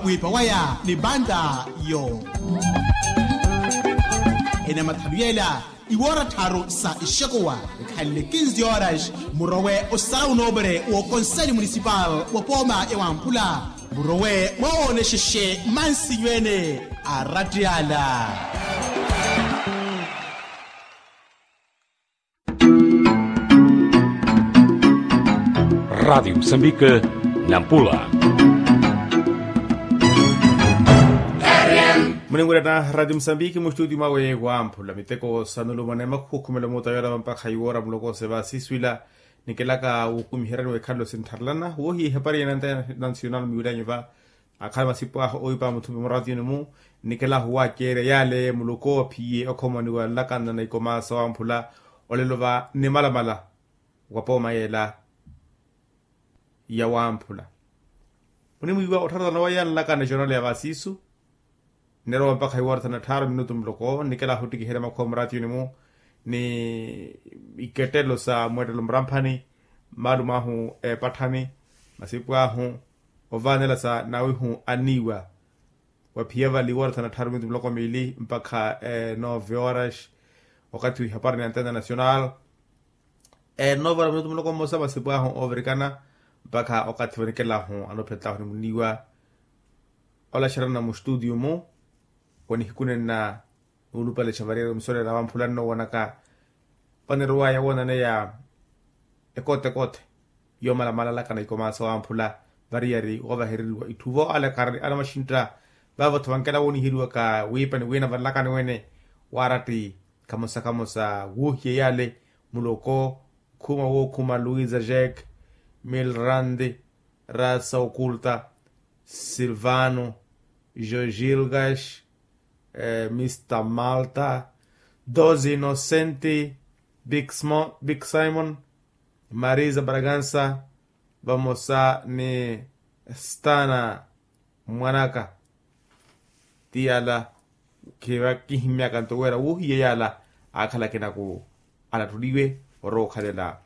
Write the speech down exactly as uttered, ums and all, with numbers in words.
Wiipa waya ni banda yo. Ene mathalu yela iwoora tharu sa ixekuwa, ikhanle kinzi horas murowe osala unoopere w'okonseli munisipal wa pooma ya wamphula. Murowe mwawoonexexe mansinyu ene a ratiyala. Radiyo musambike. Nampula. Muningurana radiyo musambike mustutiyo mwawe wamphula miteko sanulumana emakhukhumela muta yoolava mpakha iwoora muloko seve asiswila. Nikelaka wukumiheryani wekhalelo sintharelana wohiya ehapari ya nanta national miwilyanyu va. Akhala masipu ahu owipa muthupi muratiyuni-mu. Nikelahu waceerya yale muloko ophiye okhomaniwa nlakana na ikomaasa wamphula. Olelo va nimalamala wa pooma yela ya wamphula. Munimwiiwa ottharathana wa yala nlakana jornal ya vasisu. Nnerowa mpakha iwoora thana tthaaru minutu muloko nikelahu ottikiherya makhuwa muratiyuni-mu. Ni ikettelo sa mweettelo muramphani maalum'ahu epatthani masipu ahu ovaanela sa nawihu anniiwa. Waphiya vale iwoora thana tthaaru minutu muloko miili mpakha nove horas. Wakathi wihapari ni antena national. Nove horas minutu muloko mmosa masipu ahu oovirikana mpakha wakathi vanikelahu anophettlahu ni munniiwa. Olaxerana mustutiyo-mu. Wa nihiku nenna nuulupalexa variyari omisolela wamphula nnoowonaka. Vanirowa yawoonane ya ekotekothe yoomalamala alakana ikomaasa wamphula. Variyari woovahereriwa itthu vo alakari ana maxintta. Vaavo-tho vankela wooniheriwaka wiipa ni wiina vanlakani wene waaratti. Khamosa khamosa woohiya yale muloko khuma wookhuma luisa jack milrandi rasa oculta silvano jogilgas mista malta doze inocenti big simon marisa bragansa vamosa ni stana mwanaka. Ti yala khiva kihimmyaka nto wira wuhiye yala akhala akinaku alattuliwe orowa okhalela